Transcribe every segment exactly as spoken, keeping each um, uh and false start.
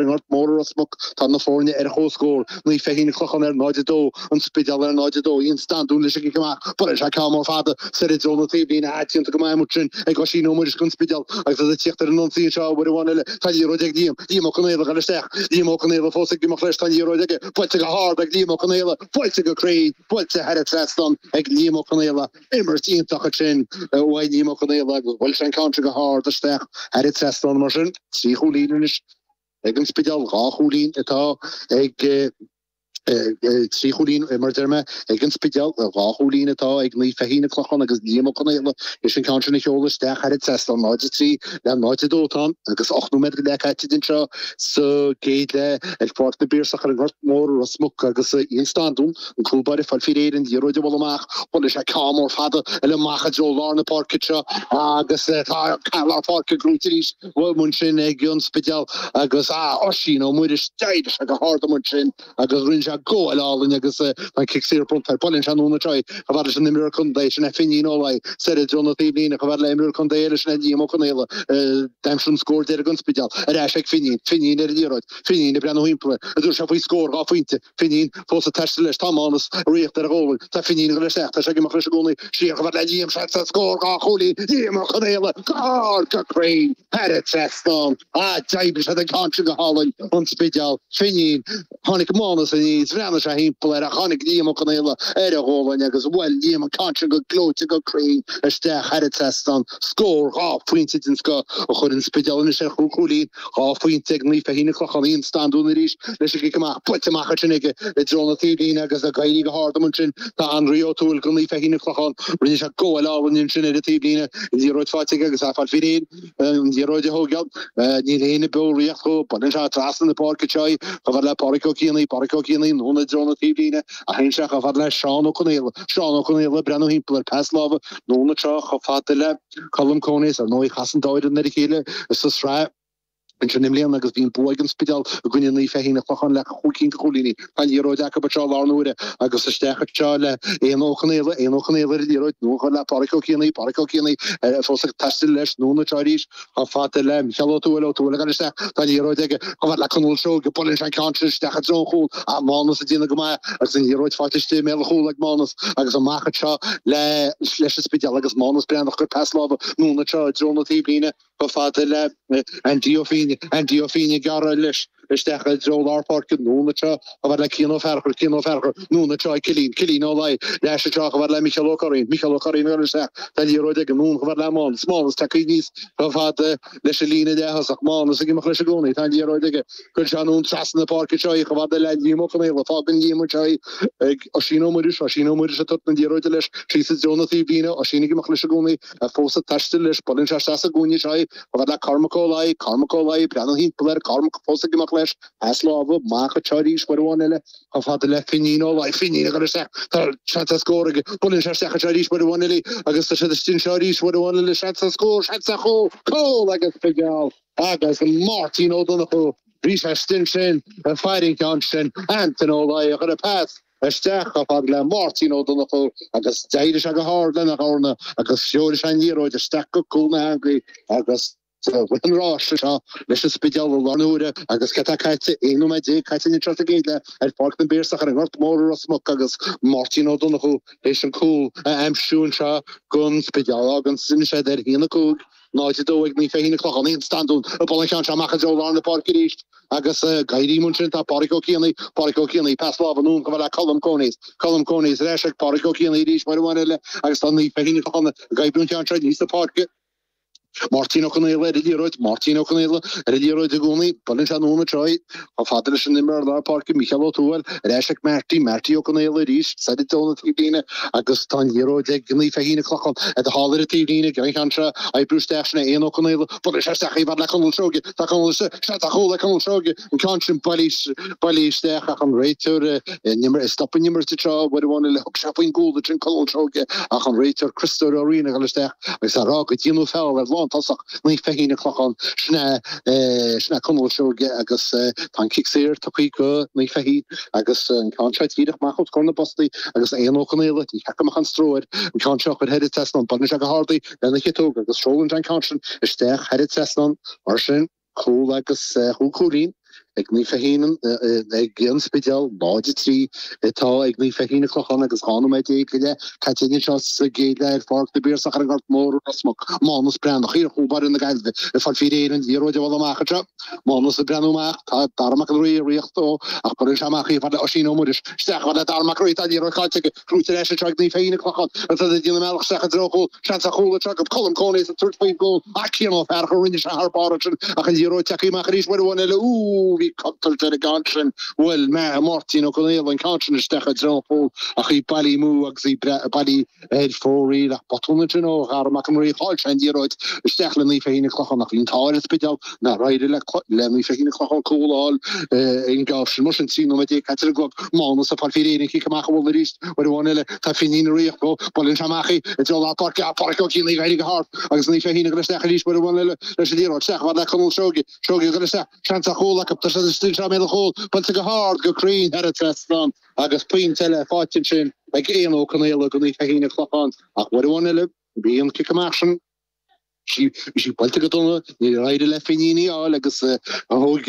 an Ghort Mór i Ros Muc. Tá na foirne ar comhscór, Naomh Feichín an Clochán ar náid a dó, An Spidéal ar náid a dó. Ian Standún leis an gcic amach. Buaileann sé ceann mór fada soir i dtreo na taobhlíne. Déanta go maith amuigh ansin ag Oisín Ó Muiris don Spidéal agus iad ag tíocht ar an ionsaí anseo uair amháin eile. Tá an liathróid ag Liam. Liam Ó Conaola ag dul isteach. Liam Ó Conaola fós ag imeacht leis. Tá an liathróid aige. Buailte go hard ag Liam Ó Conaola. Buailte go cruinn. Buailte thar an trasnán ag Liam Ó Conaola. Imirt iontach ansin uaidh Liam Ó Conaola agus bhuail sé an ceann sin go hard isteach thar an trasnán mar sin. Trí chúilín anois ag an Spidéal, dhá chúilín atá ag trí chúilín mar deir mé ag an Spidéal, dhá chúilín atá ag Naomh Feichín an Clochán agus Liam Ó Conaola leis an ceann sin a sheoladh isteach thar an trasnán náid a trí le náid a dó atá ann agus ocht nóiméad go leith caite anseo sa gcéad leath ar Pháirc na bPiarsach ar an nGort Mór i Ros Muc agus Ian Standún, an cúl báire ag fáil faoi réir an liathróid a bhualadh amach. Buaileann sé ceann mór fada eile amach i dtreo lár na páirce seo agus tá lár páirce gnóite arís amuigh ansin ag an Spidéal agus Oisín Ó Muiris d'éirigh sé go hard amuigh ansin agus rinne sé gabháil álainn agus tá an cic saor bronnta air. Buaileann sé anonn anseo chomh fada leis an imreoir contae sin é Finín Ó Laoi soir i dtreo na taobhlíne chomh fada le imreoir contae eile sin é Liam Ó Conaola. D'aimsigh an scór deiridh don Spidéal. Ar ais ag Finín. Finín ar an liathróid. Finín ag breathnú thimpeall air. An dtabharfaidh sé faoi scór dhá phointe. Finín fós ag taisteal leis. Tá Mánas ag ritheacht ar a ghualainn. Tá Finín ag dul isteach. Tá sé ag imeacht leis i gcónaí. Siar chomh fada le Liam. Seans ar scór dhá chúilín. Liam Ó Conaola. Go hard, go cruinn. Thar an trasnán. Ah, d'oibrigh siad an ceann sin go hálainn. An Spidéal. Finín. Tháinig Mánas aníos. Bhreathnaigh sé thimpeall air ach tháinig Liam Ó Conaola ar a ghualainn agus bhuail Liam an ceann sin go gleoite go cruinn isteach thar an trasnán. Scór dhá phointe den scoth a chuir an Spidéal anois ar chúig chúilín. Dhá phointe ag Naomh Feichín an Clochán. Ian Standún arís leis an gcic amach. Buailte amach ansin aige i dtreo na taobhlíne agus ag éirí go hard amuigh ansin tá Anraí Ó Tuathail do Naomh Feichín an Clochán. Rinne sé gabháil álainn ansin ar an taobhlíne. An liathróid faighte aige agus é ag fáil faoi réir an liathróid a thógáil. Níl éinne beo ag ritheacht dhó. Buaileann sé trasna na páirce anseo í chomh fada le Pádraic Ó Cianaigh. Pádraic Ó Cianaigh anonn i dtreo na taobhlíne ach théann sé chomh fada le Seán Ó Conaola. Seán Ó Conaola ag breathnú thimpeall air. Pas láimhe anonn anseo chomh fada le Colm Coneys. Ar ndóigh chas an dá fhoireann ar a chéile sa tsraith ansin i mbliana agus bhí an bua ag an Spidéal i gcoinne Naomh Feichín an Chlocháin le chúig cinn de chúilíní. Tá an liathróid acu anseo i lár na huaire agus isteach anseo le Éanna Ó Conaola, Éanna Ó Conaola ar an liathróid, anonn chomh fada le Pádraic Ó Cianaigh, Pádraic Ó Cianaigh fós ag taisteal leis, anonn anseo arís chomh fada le Micheál Ó Tuathail, Ó Tuathail ag dul isteach, tá an liathróid aige chomh fada le Conall Seoige, buaileann sé an ceann sin isteach i dtreo an chúil ach Mánas ag déanamh go maith agus an liathróid faighte istigh i mbéal an chúil ag Mánas agus amach anseo le leis an Spidéal agus Mánas breathnach ag cur pas láimhe anonn anseo i dtreo na taobhlíne. Chomh fada le Andy Ó Fínne, Andy Ó Fínne ag gearradh leis isteach i dtreo lár páirce, anonn anseo chomh fada le Cian Ó Fearchair, Cian Ó Fearchair, anonn anseo ag Cillian, Cillian Ó Laoi, ar ais anseo chomh fada le Micheál Ó Curraoin, Micheál Ó Curraoin ag dul isteach, tá an liathróid aige, anonn chomh fada le Mánas, Mánas tagtha aníos chomh fada leis an líne leath-thosach, Mánas ag imeacht leis i gcónaí, tá an liathróid aige, cuireann sé anonn trasna na páirce anseo í chomh fada le Liam Ó Conaola, fágann Liam anseo í ag Oisín Ó Muiris, Oisín Ó Muiris ag tabhairt na liathróide leis síos i dtreo na taobhlíne, Oisín ag imeacht leis i gcónaí. Fós ag taisteal leis, buaileann sé isteach sa gcúinne anseo í, chomh fada le Cormac Ó Laoi, Cormac Ó Laoi, breathnú thimpeall air, Cormac fós ag imeacht leis, pas láimhe, amach anseo arís uair amháin eile, chomh fada le Finín Ó Laoi, Finín ag dul isteach, tá seans ar scór aige, buaileann sé isteach anseo arís uair amháin eile agus tá siad istigh anseo arís uair amháin eile, seans ar scór, seans ar chúl, cúl ag an Spidéal agus Máirtín Ó Donnchú, bhí sé istigh ansin ag faire an ceann sin, Antain Ó Laoi a chuir an pas. Isteach chomh fada le Máirtín Ó Donnchú agus d'éirigh sé go hard lena dhorna agus threoraigh sé an liathróid isteach go cúl na heangaí agus rith an ráis seo leis an Spidéal i lár na huaire agus cad tá caite, aon nóiméad déag caite anseo sa gcéad leath ar Pháirc na bPiarsach ar an nGort Mór i Ros Muc agus Máirtín Ó Donnchú théis an cúl a aimsiú anseo don Spidéal. Fágann sin siad ar a haon a cúig. náid a dó ag Naomh Feichín an Clochán, Ian Standún ag bualadh an ceann seo amach i dtreo lár na páirce arís agus ag éirí ansin tá Pádraic Ó Cianaigh, Pádraic Ó Cianaigh, pas láimhe anonn chomh fada le Colm Coneys, Colm Coneys ar ais ag Pádraic Ó Cianaigh arís uair amháin eile agus tá Naomh Feichín an Chlocháin ag oibriú an ceann seo aníos an pháirc. Máirtín Ó Conaola ar an liathróid, Máirtín Ó Conaola ar an liathróid i gcónaí, buaileann sé anonn anseo í chomh fada leis an imreoir lár páirce Micheál Ó Tuathail ar ais ag Marty, Marty Ó Conaola arís, soir i dtreo na taobhlíne agus tá an liathróid ag Naomh Feichín an Chlocháin thall ar an taobhlíne ag an cheann seo oibriú isteach sin é Éanna Ó Conaola buaileann sé isteach chomh fada le Conall Seoige tá Conall istigh seans ar chúl ag Conall Seoige an ceann sin bailithe bailithe isteach ach an réiteoir ag stop an imirt anseo uair amháin eile thug sé faoin gcúl ansin Conall Seoige ach an réiteoir Criostóir Ó Riain ag dul isteach agus á rá go ndearnadh feall ar lántosach Naomh Feichín an Chlocháin sin é sin é Conall Seoige agus tá an cic saor tugtha go Naomh Feichín agus an ceann seo díreach amach os comhair na bpostaí agus Éanna Ó Conaola ní cheart go mbeadh aon stró air an ceann seo a chur thar an trasnán. Buaileann sé go hard í lena chiotóg agus seolann sé an ceann sin isteach thar an trasnán. Mar sin, cúl agus chúig chúilín ag Naomh Feichín ag an Spidéal náid a trí atá ag Naomh Feichín an Clochán agus dhá nóiméad déag go leith caite anseo sa gcéad leath ar Pháirc na bPiarsach ar an Ghort Mór i Ros Muc. Mánas Breathnach, iar-chúl báire na Gaillimhe, ag fáil faoi réir an liathróid a bhualadh amach anseo. Mánas ag breathnú amach, tá Dara Mac an Rí ag ritheacht dó ach buaileann sé amach í fad le Oisín Ó Muiris. Isteach fad le Dara Mac an Rí, tá an liathróid caillte aige, gnóite ar ais anseo ag Naomh Feichín an Clochán agus iad ag déanamh a mbealach isteach i dtreo an chúil. Seans ar chúl anseo acu, Colm Coneys ag tabhairt faoin gcúl ach Cian Ó Fearchair, rinne sé thar barr ansin ach an liathróid tagtha amach arís uair amháin eile. Úúú, bhí contúirt ar an gceann sin. Bhuail Máirtín Ó Conaola an ceann sin isteach i dtreo an chúil ach í bailithe amú agus í bailithe ar fóraoil. Ach botún ansin ó Dhara Mac an Rí, chaill sé an liathróid isteach le Naomh Feichín an Clochán ach bhí an t-ádh ar an Spidéal nár éirigh le Naomh Feichín an Clochán cúl a fháil ón gceann sin. Mar sin, trí nóiméad déag caite ar an gclog, Mánas ag fáil faoi réir an cic amach a bhualadh arís uair amháin eile. Tá Finín ag ritheacht dó, buaileann sé amach í i dtreo lár páirce, Pádraic Ó Cianaigh ag éirí go hard agus Naomh Feichín ag dul isteach arís uair amháin eile leis an liathróid isteach fad le Conall Seoige. Seoige ag dul isteach, seans ar chúl acu, tá siad istigh anseo i mbéal an chúil, buailte go hard, go cruinn thar an trasnán agus pointe eile faighte ansin ag Éanna Ó Conaola do Naomh Feichín an Clochán. Ach uair amháin eile, bhí an cic amach sin, bhí sí buailte go dona, níor éirigh le Finín í a fháil agus thóg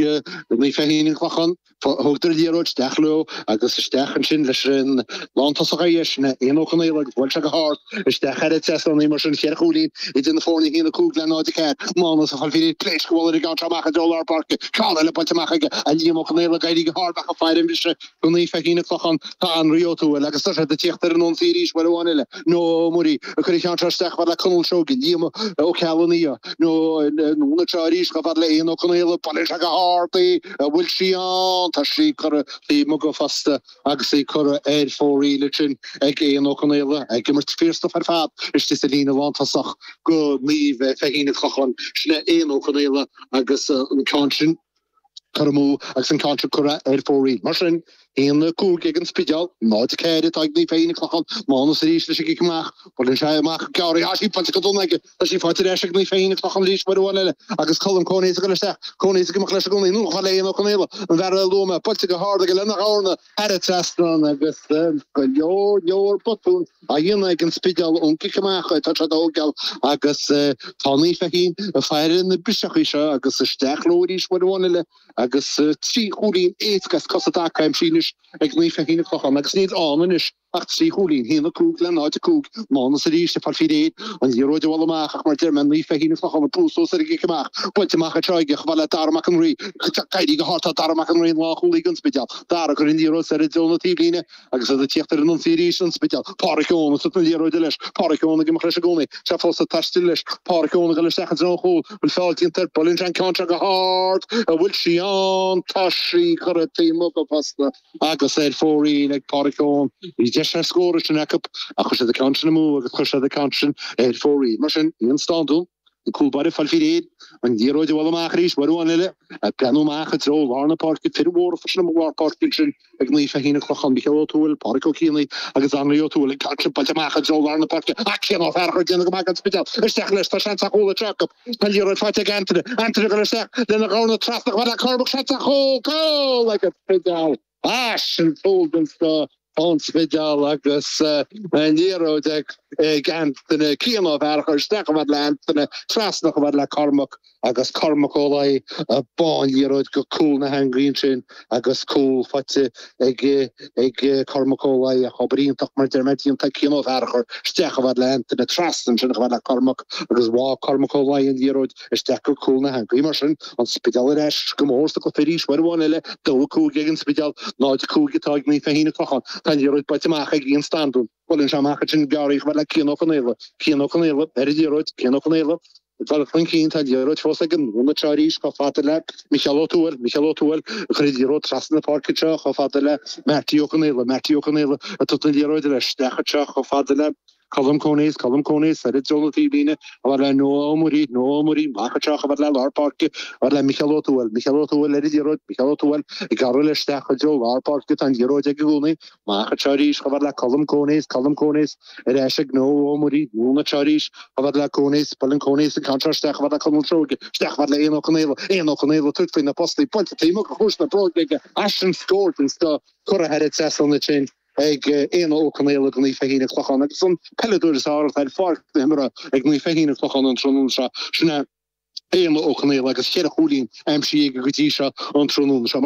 Naomh Feichín an Clochán, thógadar an liathróid isteach leo agus isteach ansin leis an lántosach ar dheis, Éanna Ó Conaola agus bhuail sé go hard isteach thar an trasnán í mar sin cheithre chúilín idir na foirne, a haon a cúig le náid a ceathair. Mánas ag fáil faoi réir pléasc a bhualadh ar an gceann seo amach i dtreo lár páirce. Ceann eile buailte amach aige, a Liam Ó Conaola ag éirí go hard ach ag faire an bhriseadh do Naomh Feichín an Clochán. Tá Anraí Ó Tuathail agus tá siad ag tíocht ar an ionsaí arís uair amháin eile. Noah Ó Muirí ag cur an cheann seo isteach fad le Conall Seoige, Liam Ó Ceallaigh nó anonn anseo arís chomh fada le Éanna Ó Conaola, buaileann sé go hard í, an bhfuil sí ann? Tá sí curtha taobh amuigh de fosta agus í curtha ar fóraoil ansin ag Éanna Ó Conaola, ag imirt fíorstuif ar fad istigh sa líne lántosach do Naomh Feichín an Clochán. Sin é Éanna Ó Conaola agus an ceann sin curtha amú agus an ceann seo curtha ar fóraoil. Mar sin, a haon a cúig ag an Spidéal, náid a ceathair atá ag Naomh Feichín an Clochán, Mánas arís leis an gcic amach, buaileann sé amach gearr í, tá sí buailte go dona aige, tá sí faighte ar ais ag Naomh Feichín an Clochán arís uair amháin eile agus Colm Coneys ag dul isteach, Coneys ag imeacht leis i gcónaí, anonn chomh fada le Éanna Ó Conaola, an fear a luaigh mé, buailte go hard aige lena dhorna thar an trasnán agus go leor leor botún á dhéanamh ag an Spidéal ón gcic amach atá siad a thógáil agus tá Naomh Feichín ag faire na briseachaí seo agus isteach leo arís uair amháin eile agus trí chúilín éasca as cosa i dtaca aimsithe anois ag Naomh Feichín an Clochán agus níl ann anois ach trí chúilín, a haon a cúig le náid a cúig. Mánas arís ag fáil faoi réir an liathróid a bhualadh amach ach mar a deir mé Naomh Feichín an Clochán ag brú suas ar an gcic amach. Buailte amach anseo aige chomh fada le Dara Mac an Rí. Ag éirí go hard tá Dara Mac an Rí an lánchúlaí don Spidéal. Dara ag cur an liathróid soir i dtreo na taobhlíne agus iad ag tíocht ar an ionsaí arís an Spidéal. Pádraic Eoin ag tabhairt na liathróide leis. Pádraic Eoin ag imeacht leis i gcónaí. Sé fós ag taisteal leis. Pádraic Eoin ag dul isteach i dtreo an chúil. Bhfuil feall déanta air? Buaileann sé an ceann seo go hard. An bhfuil sí ann? Tá sí curtha taobh amuigh de fosta agus ar fóraoil ag Pádraic Eoin. Bhí deis ar scór ansin acu ach chuir siad an ceann sin amú agus chuir siad an ceann sin ar fóraoil. Mar sin, Ian Standún, an cúl báire ag fáil faoi réir, an liathróid a bhualadh amach arís, uair amháin eile, ag breathnú amach i dtreo lár na páirce, fir mhóra freisin i lár páirce ansin ag Naomh Feichín an Clochán, Micheál Ó Tuathail, Pádraic Ó Cianaigh agus Anraí Ó Tuathail, an ceann sin buailte amach i dtreo lár na páirce, ach Cian Ó Fearchair ag déanamh go maith don Spidéal, isteach leis, tá seans ar chúl anseo acu, tá an liathróid faighte ag Antaine, Antaine ag dul isteach lena dhorna trasna chomh fada le Cormac, seans ar chúl, cúl ag an Spidéal, ah sin cúl den scoth. Ón Spidéal agus an liathróid ag Antaine, Cian Ó Fearchair isteach chomh fada le Antaine, trasna chomh fada le Cormac agus Cormac Ó Laoi ag bá an liathróid go cúl na heangaí ansin agus cúl faighte ag ag Cormac Ó Laoi ach obair iontach mar deir mé déanta ag Cian Ó Fearchair isteach chomh fada le Antaine, trasna ansin chomh fada le Cormac agus bháigh Cormac Ó Laoi an liathróid isteach go cúl na heangaí. Mar sin, an Spidéal ar ais go mór sa gcluiche arís uair amháin eile, dó a cúig ag an Spidéal, náid a cúig atá ag Naomh Feichín an Clochán. Tá an liathróid buailte amach ag Ian Standún. Buaileann sé amach ansin gearr í chomh fada le Cian Ó Conaola. Cian Ó Conaola ar an liathróid. Cian Ó Conaola ag dul chun cinn. Tá an liathróid fós aige anonn anseo arís chomh fada le Micheál Ó Tuathail. Micheál Ó Tuathail ag cur an liathróid trasna na páirce anseo chomh fada le Marty Ó Conaola. Marty Ó Conaola ag tabhairt na liathróide leis isteach anseo chomh fada le Colm Coneys, Colm Coneys, soir i dtreo na taobhlíne, chomh fada le Noah Ó Muirí, Noah Ó Muirí, amach anseo chomh fada le lár páirce, chomh fada le Micheál Ó Tuathail, Micheál Ó Tuathail ar an liathróid, Micheál Ó Tuathail ag gearradh leis isteach i dtreo lár páirce, tá an liathróid aige i gcónaí, amach anseo arís chomh fada le Colm Coneys, Colm Coneys, ar ais ag Noah Ó Muirí, anonn anseo arís chomh fada le Coneys, buaileann Coneys an ceann seo isteach chomh fada le Conall Seoige, isteach chomh fada le Éanna Ó Conaola, Éanna Ó Conaola ag tabhairt faoi na postaí, buailte taobh amuigh de chluais na bróige aige, ah sin scór den scoth curtha thar an trasnán ansin. ag Éanna Ó Conaola do Naomh Feichín an Clochán agus an peileadóir is fearr atá ar pháirc na himeartha ag Naomh Feichín an Clochán an tráthnóna seo, sin é Éanna Ó Conaola agus ceithre chúilín aimsithe aige go dtí seo an tráthnóna seo.